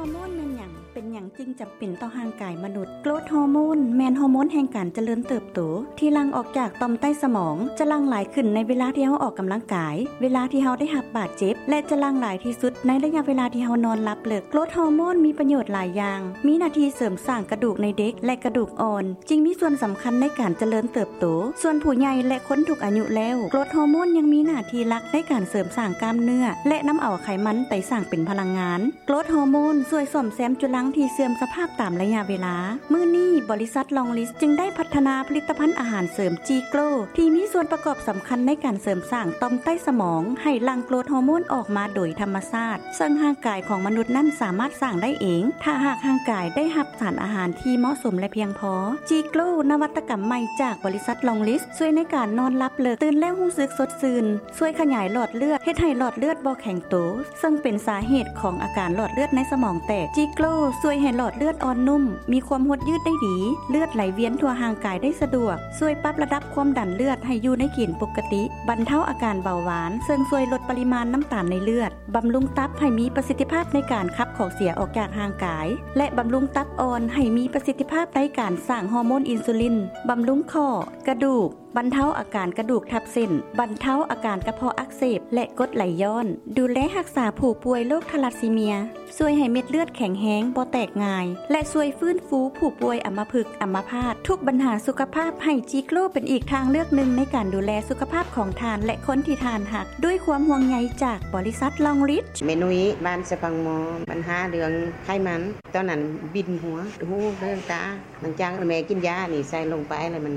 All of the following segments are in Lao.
ຮໍໂມນແມ່ນຫຍັງ? ເປັນຫຍັງຈຶ່ງຈຳເປັນຕໍ່ຮ່າງກາຍມະນຸດ? ໂກຣດຮໍໂມນແມ່ນຮໍໂມນແຫ່ງການຈະເລີນເຕີບໂຕ ທີ່ຫຼັ່ງອອກຈາກຕ່ອມໃຕ້ສະໝອງ, ຈະຫຼັ່ງຫຼາຍຂຶ້ນໃນເວລາທີ່ເຮົາອອກກຳລັງກາຍ, ເວລາທີ່ເຮົາໄດ້ຮັບບາດເຈັບ ແລະ ຈະຫຼັ່ງຫຼາຍທີ່ສຸດໃນໄລຍະເວລາທີ່ເຮົານອນຫຼັບເລິກ. ໂກຣດຮໍໂມນມີປະໂຫຍດຫຼາຍຢ່າງ, ມີໜ້າທີ່ເສີມສ້າງກະດູກໃນເດັກ ແລະ ກະດູກອ່ອນ, ຈຶ່ງມີສ່ວນສຳຄັນໃນການຈະເລີນເຕີບໂຕ. ສ່ວນຜູ້ໃຫຍ່ ແລະ ຄົນທຸກອາຍຸແລ້ວ, ໂກຣດຮໍໂມນຍັງມີໜ້າທີ່ຫຼັກໃນການເສີມສ້າງກ້າມເນື້ອ ແລະ ນຳເອົາໄຂມັນໄປສ້າງເປັນພະລັງງານ. ໂກຣດຮໍໂມນຊ່ວຍສ້ອມແຊມຈຸລັງທີ່ເສື່ອມສະພາບຕາມໄລຍະເວລາ. ມື້ນີ້, ບໍລິສັດ Longlis ຈຶ່ງໄດ້ພັດທະນາຜະລິດຕະພັນອາຫານເສີມ G-Grow ທີ່ມີສ່ວນປະກອບສຳຄັນໃນການເສີມສ້າງຕ່ອມໃຕ້ສະໝອງໃຫ້ຫຼັ່ງໂກຣດຮໍໂມນອອກມາໂດຍທຳມະຊາດ, ເຊິ່ງຮ່າງກາຍຂອງມະນຸດນັ້ນສາມາດສ້າງໄດ້ເອງ ຖ້າຫາກຮ່າງກາຍໄດ້ຮັບສານອາຫານທີ່ເໝາະສົມ ແລະ ພຽງພໍ. G-Grow ນະວັດຕະກຳໃໝ່ຈາກບໍລິສັດ Longlis ຊ່ວຍໃນການນອນຫຼັບເລິກ, ຕື່ນແລ້ວຮູ້ສຶກສົດຊື່ນ, ຊ່ວຍຂະຫຍາຍຫຼອດເລືອດ, ເຮັດໃຫ້ຫຼອດເລືອດບໍ່ແຂງໂຕ, ເຊິ່ງເປັນສາເຫດຂອງອາການຫຼອດເລືອດໃນສະໝອງແຕກ. G-Grow ຊ່ວຍໃຫ້ຫຼອດເລືອດອ່ອນນຸ້ມ, ມີຄວາມຫົດຍືດໄດ້ດີ, ເລືອດໄຫຼວຽນທົ່ວຮ່າງກາຍໄດ້ສະດວກ, ຊ່ວຍປັບລະດັບຄວາມດັນເລືອດໃຫ້ຢູ່ໃນເກນປົກກະຕິ, ບັນເທົາອາການເບົາຫວານ, ເຊິ່ງຊ່ວຍລົດປະລິມານນ້ຳຕານໃນເລືອດ, ບຳລຸງຕັບໃຫ້ມີປະສິດທິພາບໃນການຂັບຂອງເສຍອອກຈາກຮ່າງກາຍ ແລະ ບຳລຸງຕັບອ່ອນໃຫ້ມີປະສິດທິພາບໃນການສ້າງຮໍໂມນອິນຊູລິນ, ບຳລຸງຂໍ້, ກະດູກ, ບັນເທົາອາການກະດູກທັບເສັ້ນ, ບັນເທົາອາການກະເພາະອັກເສບ ແລະ ກົດໄຫຼຍ້ອນ, ດູແລຮັກສາຜູ້ປ່ວຍໂລກທາລັດຊີເມຍ, ຊ່ວຍໃຫ້ເມັດເລືອດແຂງແຮງ, ບໍ່ແຕກງ່າຍ ແລະ ຊ່ວຍຟື້ນຟູຜູ້ປ່ວຍອຳມະພຶກ, ອຳມະພາດ, ທຸກບັນຫາສຸຂະພາບ. ໃຫ້ G-Grow ເປັນອີກທາງເລືອກໜຶ່ງໃນການດູແລສຸຂະພາບຂອງທ່ານ ແລະ ຄົນທີ່ທ່ານຮັກ, ດ້ວຍຄວາມຫ່ວງໃຍຈາກບໍລິສັດ Longlis. ແມ່ນຸ້ຍ ບ້ານສະພັງມໍ, ບັນຫາເລື່ອງໄຂມັນ, ຕອນນັ້ນວິນຫົວ, ຫູ, ເລື່ອງຕາ, ຫຼັງຈາກແມ່ກິນຢານີ້ໃສ່ລົງໄປແລ້ວມັນ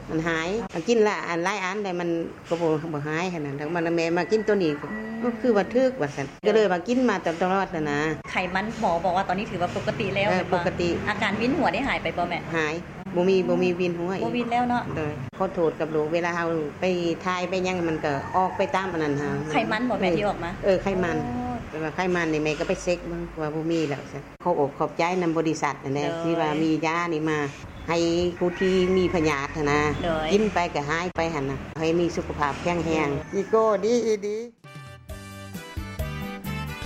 ມັນຫາຍ. ກິນຫຼາຍອັນ ຫຼາຍອັນແລ້ວມັນກໍບໍ່ ບໍ່ຫາຍຫັ້ນນະ. ແລ້ວມາ ແມ່ມາກິນໂຕນີ້ ກໍ ອືມ ກໍຄືວ່າຖືກວ່າຊັ້ນ. ກໍເລີຍວ່າກິນມາຕະຫຼອດຫັ້ນນະ. ໄຂມັນ ໝໍບອກວ່າຕອນນີ້ຖືວ່າປົກກະຕິແລ້ວ ເອີ ແມ່ນບໍ່? ປົກກະຕິ. ອາການວິນຫົວໄດ້ຫາຍໄປບໍ່ແມ່? ຫາຍ. ບໍ່ມີ ບໍ່ມີວິນຫົວອີກ. ບໍ່ວິນແລ້ວເນາະ? ໂດຍ. ຂໍໂທດກັບໂລກ. ເວລາເຮົາໄປຖ່າຍໄປຫຍັງ ມັນກໍອອກໄປຕາມອັນນັ້ນຫັ້ນ. ໄຂມັນບໍ່ແມ່ ທີ່ອອກມາ? ເອີ ໄຂມັນ. ອໍ. ແຕ່ວ່າໄຂມັນນີ້ແມ່ກໍໄປເຊັກເບິ່ງວ່າບໍ່ມີແລ້ວຊັ້ນ. ຂໍອົບຂອບໃຈນຳບໍລິສັດຫັ້ນແຫຼະ ໂດຍ ທີ່ວ່າມີຢານີ້ມາໃຫ້ຜູ້ທີ່ມີພະຍາດຫັ້ນນະ ໂດຍ ກິນໄປກໍຫາຍໄປຫັ້ນນະ ໃຫ້ມີສຸຂະພາບແຂງແຮງ ໂດຍ ອີໂກ້ດີອີດີ.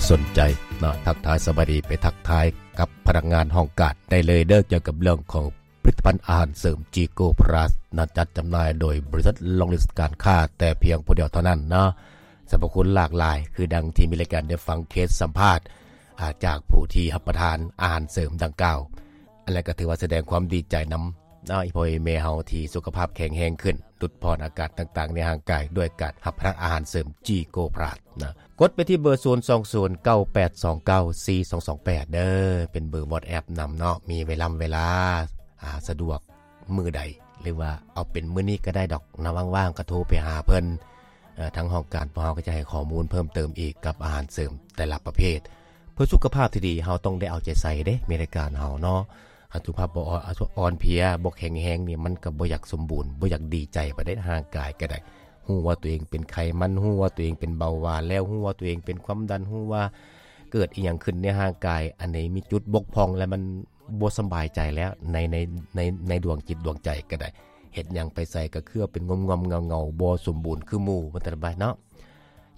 ສົນໃຈເນາະ ທັກທາຍສະບາຍດີ ໄປທັກທາຍກັບພະນັກງານຫ້ອງການໄດ້ເລີຍເດີ້ ກ່ຽວກັບເລື່ອງຂອງຜະລິດຕະພັນອາຫານເສີມ G-Grow Plus ນະ ຈັດຈຳໜ່າຍໂດຍບໍລິສັດ Longlis ການຄ້າ ແຕ່ພຽງຜູ້ດຽວເທົ່ານັ້ນເນາະ. ສັບພະຄຸນຫຼາກຫຼາຍ ຄືດັ່ງທີ່ມີລາຍການໄດ້ຟັງເຄສສຳພາດ ອາ ຈາກຜູ້ທີ່ຮັບປະທານອາຫານເສີມດັ່ງກ່າວ. ອັນນັ້ນກໍຖືວ່າສະແດງຄວາມດີໃຈນຳ ເນາະ ອີ່ພໍ່ອີ່ແມ່ເຮົາທີ່ສຸຂະພາບແຂງແຮງຂຶ້ນ, ຫຼຸດຜ່ອນອາການຕ່າງໆໃນຮ່າງກາຍ ດ້ວຍການຮັບປະທານອາຫານເສີມ G-Grow Plus ນະ. ກົດໄປທີ່ເບີ ສູນສອງສູນ ເກົ້າແປດສອງເກົ້າ ສີ່ສອງສອງແປດ ເດີ້ ເປັນເບີ WhatsApp ນຳເນາະ. ມີເວລາ ເວລາ ອາ ສະດວກມື້ໃດ ຫຼືວ່າເອົາເປັນມື້ນີ້ກໍໄດ້ດອກນະ, ວ່າງໆກໍໂທໄປຫາເພິ່ນ. ເອີ ທາງຫ້ອງການພວກເຮົາກໍຈະໃຫ້ຂໍ້ມູນເພີ່ມເຕີມອີກກັບອາຫານເສີມແຕ່ລະປະເພດ ເພື່ອສຸຂະພາບທີ່ດີ ເຮົາຕ້ອງໄດ້ເອົາໃຈໃສ່ເດ້ ແມ່ນລາຍການເຮົາເນາະ. ຄັນສຸຂະພາບບໍ່ ອ່ອນ ອ່ອນເພຍ ບໍ່ແຂງແຮງນີ້ ມັນກໍບໍ່ຢາກສົມບູນ ບໍ່ຢາກດີໃຈປານໃດ. ຮ່າງກາຍກໍໄດ້ ຮູ້ວ່າຕົວເອງເປັນໄຂມັນ, ຮູ້ວ່າຕົວເອງເປັນເບົາຫວານແລ້ວ, ຮູ້ວ່າຕົວເອງເປັນຄວາມດັນ, ຮູ້ວ່າເກີດອີ່ຫຍັງຂຶ້ນໃນຮ່າງກາຍ ອັນໃດມີຈຸດບົກຜ່ອງ ແລະ ມັນບໍ່ສະບາຍໃຈແລ້ວ ໃນ ໃນ ໃນ ໃນດວງຈິດດວງໃຈກໍໄດ້. ເຮັດຫຍັງໄປໃສກໍຄືວ່າເປັນງ່ອມໆເຫງົາໆ ບໍ່ສົມບູນຄືໝູ່ ວ່າຊັ້ນໄປເນາະ.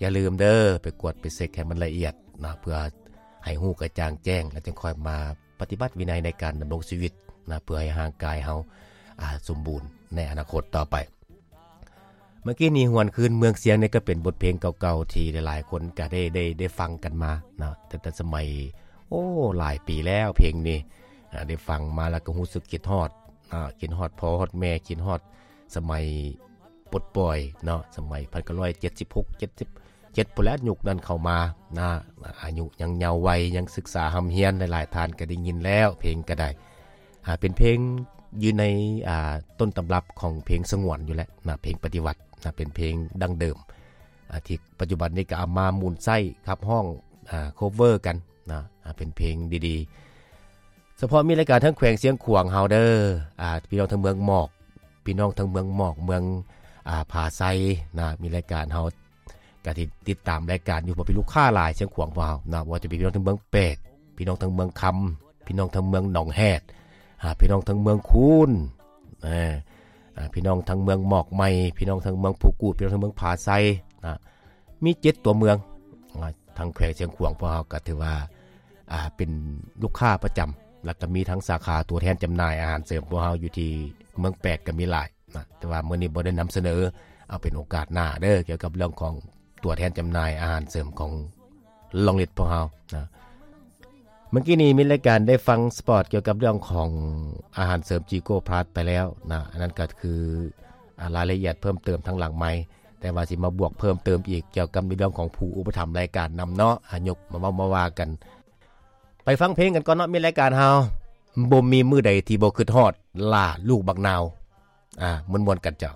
ຢ່າລືມເດີ້ ໄປກວດໄປເຊັກໃຫ້ມັນລະອຽດນະ ເພື່ອໃຫ້ຮູ້ກະຈ່າງແຈ້ງ ແລ້ວຈຶ່ງຄ່ອຍມາປະຕິບັດວິໄນໃນການດຳລົງຊີວິດນະ ເພື່ອໃຫ້ຮ່າງກາຍເຮົາ ອາ ສົມບູນໃນອະນາຄົດຕໍ່ໄປ. ເມື່ອກີ້ນີ້ຫວນຄືນເມືອງຊຽງນີ້ ກໍເປັນບົດເພງເກົ່າໆທີ່ຫຼາຍໆຄົນກໍໄດ້ ໄດ້ ໄດ້ຟັງກັນມາເນາະ ຕັ້ງແຕ່ສະໄໝ ໂອ້ ຫຼາຍປີແລ້ວເພງນີ້ ອາ ໄດ້ຟັງມາແລ້ວກໍຮູ້ສຶກຄິດຮອດ ອາ ຄິດຮອດພໍ່ຮອດແມ່ ຄິດຮອດສະໄໝ ປົດປ່ອຍເນາະ ສະໄໝພັນເກົ້າຮ້ອຍເຈັດສິບຫົກ ເຈັດສິບເຈັດ ພຸ້ນແຫຼະ ຍຸກນັ້ນເຂົ້າມານະ ອາຍຸຍັງເຍົາໄວ ຍັງສຶກສາຮ່ຳຮຽນ ຫຼາຍໆທ່ານກໍໄດ້ຍິນແລ້ວ ເພງກໍໄດ້ ອາ ເປັນເພງຢູ່ໃນ ອາ ຕົ້ນຕຳລັບຂອງເພງສະຫງວນຢູ່ແຫຼະນະ ເພງປະຕິວັດນະ ເປັນເພງດັ້ງເດີມ ອາ ທີ່ປັດຈຸບັນນີ້ກໍເອົາມາໝູນໃຊ້ຂັບຮ້ອງ ອາ ໂຄເວີກັນນະ ອາ ເປັນເພງດີໆ. ສະເພາະມີລາຍການທາງແຂວງຊຽງຂວາງເຮົາເດີ້ ອາ ພີ່ນ້ອງທາງເມືອງໝອກ ພີ່ນ້ອງທາງເມືອງໝອກ ເມືອງ ອາ ຜາໄຊນະ ມີລາຍການເຮົາກະຕິດ ຕິດຕາມລາຍການຢູ່ ເພາະມີລູກຄ້າຫຼາຍຊຽງຂວາງພວກເຮົານະ ບໍ່ວ່າຈະເປັນພີ່ນ້ອງທາງເມືອງແປກ ພີ່ນ້ອງທາງເມືອງຄຳ ພີ່ນ້ອງທາງເມືອງໜອງແຮດ ອາ ພີ່ນ້ອງທາງເມືອງຄູນ ອາ ອາ ພີ່ນ້ອງທາງເມືອງໝອກໃໝ່ ພີ່ນ້ອງທາງເມືອງພູກູດ ພີ່ນ້ອງທາງເມືອງຜາໄຊນະ ມີເຈັດຕົວເມືອງ ອາ ທາງແຂວງຊຽງຂວາງພວກເຮົາກໍຖືວ່າ ອ່າ ເປັນລູກຄ້າປະຈຳ ແລ້ວກໍມີທັງສາຂາຕົວແທນຈຳໜ່າຍອາຫານເສີມພວກເຮົາຢູ່ທີ່ເມືອງແປກກໍມີຫຼາຍນະ ແຕ່ວ່າມື້ນີ້ບໍ່ໄດ້ນຳສະເໜີ ເອົາເປັນໂອກາດໜ້າເດີ ກ່ຽວກັບເລື່ອງຂອງຕົວແທນຈຳໜ່າຍອາຫານເສີມຂອງລອງລິດພວກເຮົານະ. ເມື່ອກີ້ນີ້ມິດລາຍການໄດ້ຟັງສະປອດກ່ຽວກັບເລື່ອງຂອງອາຫານເສີມຈີໂກພລັສໄປແລ້ວນະ ອັນນັ້ນກໍຄື ອ່າ ລາຍລະອຽດເພີ່ມເຕີມທາງຫຼັງໄມ ແຕ່ວ່າຊິມາບວກເພີ່ມເຕີມອີກກ່ຽວກັບໃນເລື່ອງຂອງຜູ້ອຸປະຖຳລາຍການນຳເນາະ ອາ ຍົກມາເວົ້າມາວ່າກັນ. ໄປຟັງເພງກັນກ່ອນເນາະ ມິດລາຍການເຮົາ ບໍ່ມີມື້ໃດທີ່ບໍ່ຄິດຮອດ ຫຼ້າລູກບັກນາວ ອ່າ ມ່ວນໆກັນເຈົ້າ.